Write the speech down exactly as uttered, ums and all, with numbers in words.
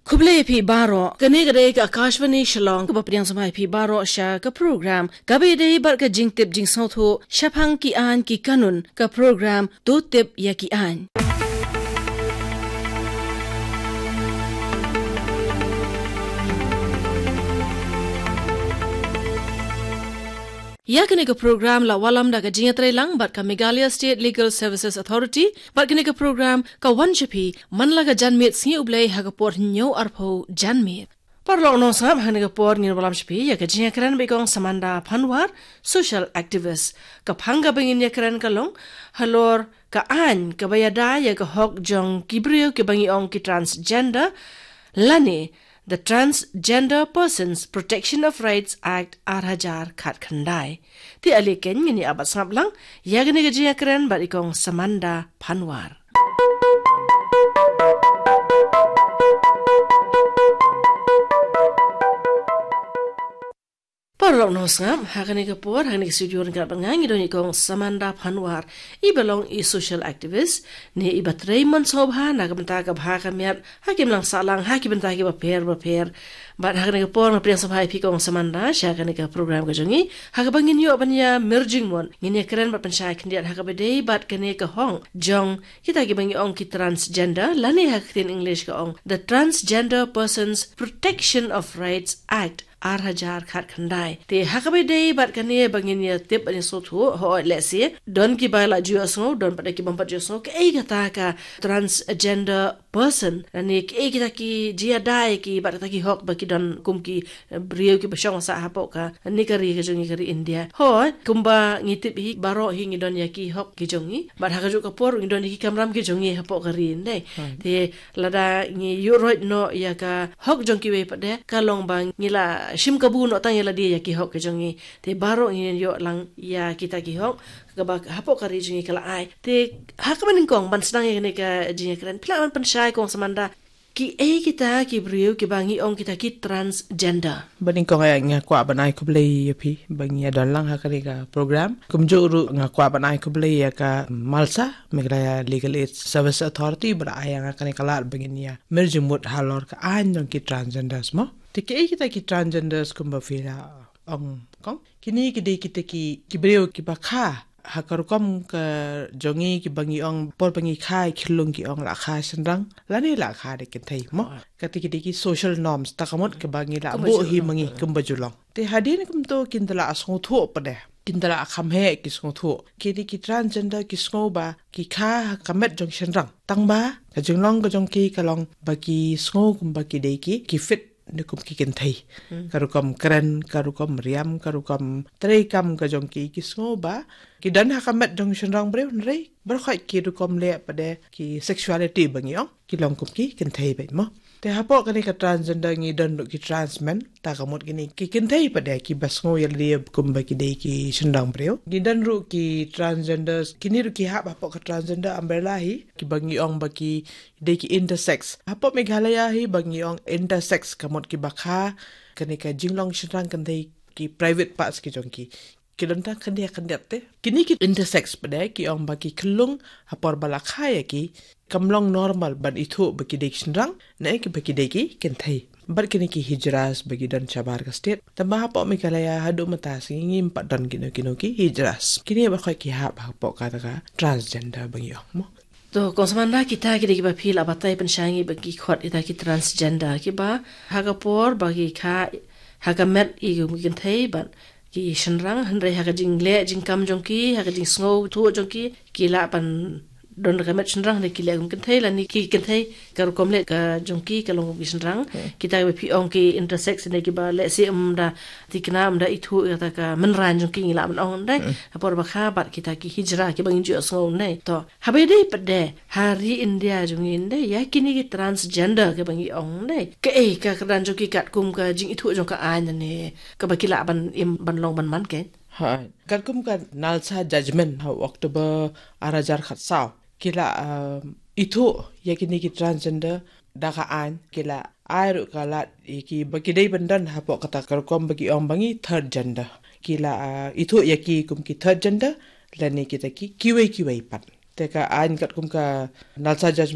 Khublei phi baroh, kane ka dei ka Akashvani Shillong, kaba pdiang sngewbha phi baroh sha ka program kaba ïadei bad ka jingtip jingsngewthuh shaphang ki aiñ ki kanun, ka program To Tip ïa ki Aiñ. Ïa kane ka program la wallam da ka jingïatreilang bad ka Meghalaya State Legal Services Authority, bad kane ka program ka wan sha phi man la ka janmiet sngi U Blei ha ka por hynñiew arphew janmiet. Paralok nongsngap, ha kane ka por ngin wallam sha phi ïa ka jingïakren bad i Kong Samanda Panwar, social activist. Ka phang kaba ngin ïakren ka long halor ka aiñ kaba ïada ïa ka hok jong ki briew kiba ngi ong ki transgender, lane the Transgender Persons Protection of Rights Act ar hajar khatkhyndai. Te ale keiñ ngin ïa bat sngap lang ïa kane ka jingïakren bad i Kong Samanda Panwar. Paralok nongsngap, ha kane ka por, ha kane ka studio ryngkat bad nga ngi don i Kong Samanda Panwar, iba long i social activist, ne iba trei mon sngewbha na ka bynta ka bha ka miat ha ki imlang sahlang, ha ki bynta kiba pher ba pher. Bad ha kane ka por nga pdiang sngewbha ïa phi Kong Samanda sha kane ka program ka jong ngi, ha kaba ngin ïoh ban ïa mir jingmut, ngin ïakren bad pynshai khyndiat ha kaba dei bad kane ka hok jong kita kiba ngi ong ki transgender, lane ha ka ktien English ka ong the Transgender Persons Protection of Rights Act ar hajar khatkhyndai. Te ha kaba dei bad kane ba ngin ïa tip bad ïa sngewthuh, hooid, lehse don kiba la ju ïohsngew, don pat de kibym pat ju ïohsngew kaei kata ka transgender person, lane kaei kita ki jingïada ïa ki bad kita ki hok ba ki don kum ki, eh, briew kiba shong sah hapoh kane ka ri ka jong ngi, ka ri India. Hooid, kumba ngi tip hi, baroh hi ngi don ïa ki hok ki jong ngi, bad ha kajuh ka por ngi don ïa ki kamram ki jong ngi hapoh ka ri, ym dei? Hmm. Te lada ngi ïuhroit noh ïa ka hok jong kiwei pat de, ka long ba ngi la shim kabu noh tang ïa lade ïa ki hok ki jong ngi. Te baroh ngin ïoh lang ïa kita ki hok kaba hapoh ka ri jong ngi ka la ai. Te ha kaba nyngkong ban sdang ïa kane ka jingïakren, phi lah ban pynshai Kong Samanda, kiei kita ki briew kiba ngi ong kita ki transgender? Ba nyngkong, eh, nga kwah ban ai khublei ïa phi ba ngi ïa don lang ha kane ka program. Kumjuh ruh nga kwah ban ai khublei ïa ka MALSA, Meghalaya Legal Aid Service Authority, ba la ai ïa nga kane ka lad ba ngin ïa mir jingmut halor ka aiñ jong ki transgenders mo. Te kiei kita ki transgenders kumba phi la ong, Kong? Kine ki dei kita ki, ki briew kiba kha ha ka rukom ka jong ngi kiba ngi ong, por ba ngi kha ïa ki khyllung ki ong la kha shynrang, lane la kha da ki kynthei mo. Ah. Kata ki dei ki social norms, ta ka mut kaba ngi la buh hi ma ngi kumba ju long. Te hadien kumto kin da la sngewthuh pat de, kin da la kham heh ki sngewthuh. Ki dei ki transgender ki sngew ba ki kha ha ka met jong shynrang. Tang ba ka jinglong ka jong ki ka long ba ki sngew kumba ki dei ki, ki fit ne kum ki kynthei. Hmm. Ka rukom kren, ka rukom riam, ka rukom treikam ka jong ki, ki sngew ba ki don ha ka met jong shynrang briew, hynrei baroh khoit ki rukom leh pat de, ki sexuality ba ngi ong, ki long kum ki kynthei beit mo. Te hapoh kane ka transgender ngi don ruh ki transmen, ta ka mut kine ki kynthei pat de kiba sngew ïa lade kumba ki dei ki shynrang briew. Ngi don ruh ki transgenders, kine ruh ki hap hapoh ka transgender umbrella hi, kiba ngi ong ba ki dei ki intersex. Hapoh Meghalaya hi ba ngi ong intersex, ka mut kiba kha kane ka jinglong shynrang kynthei, ki private parts ki jong ki. Ki don tang khyndiat khyndiat te. Kine ki intersex pat de ki ong ba ki khyllung ha por ba la kha ïa ki kam long normal ban ithuh ba ki dei ki shynrang, ne ki ba ki dei ki kynthei. Bad kine ki hijras ba ki don shabar ka state. Tangba hapoh Meghalaya haduh mynta sngi ngim pat don kino kino ki hijras. Kine baroh khoit ki hap hapoh kata ka transgender ba ngi ong mo. To, Kong Samanda, kita ki dei kiba phi la batai pynshai ïa ngi ba ki khot kita ki transgender, kiba ha ka por ba ki kha ha ka met ïa ki kynthei bad ki shynrang, hynrei ha ka jingleh jingkam jong ki, ha ka jingsngewthuh jong ki, ki lah ban don ka met shynrang, hynrei ki leh kum kynthei, lane ki kynthei ka rukom leh ka jong ki ka long kum ki shynrang. Hmm. Kita kiba phi ong ki intersex, hynrei kiba lehse ym da thikna, ym da ithuh ïa kata ka mynrain jong ki, ngi lah ban ong, hynrei. Hmm. Ha por ba kha bad kita ki hijra kiba ngin ju ïohsngew, hynrei. To, haba ïadei pat de ha ri India jong ngi, hynrei, ïa kine ki transgender kiba ngi ong, hynrei, kaei ka kyrdan jong ki katkum ka jingithuh jong ka aiñ ne kaba ki lah ban im ban long ban man, Kong? Ha, katkum ka NALSA judgment ha October ar hajar khatsaw, ki la, um, ithuh ïa kine ki transgender da ka aiñ, ki la ai ruh ka lad ïa ki ba ki dei ban don hapoh kata ka rukom ba ki ong ba ngi third gender. Ki la, uh, ithuh ïa ki kum ki third gender, lane kita ki kiwei kiwei pat. Te ka aiñ katkum ka NALSA judgment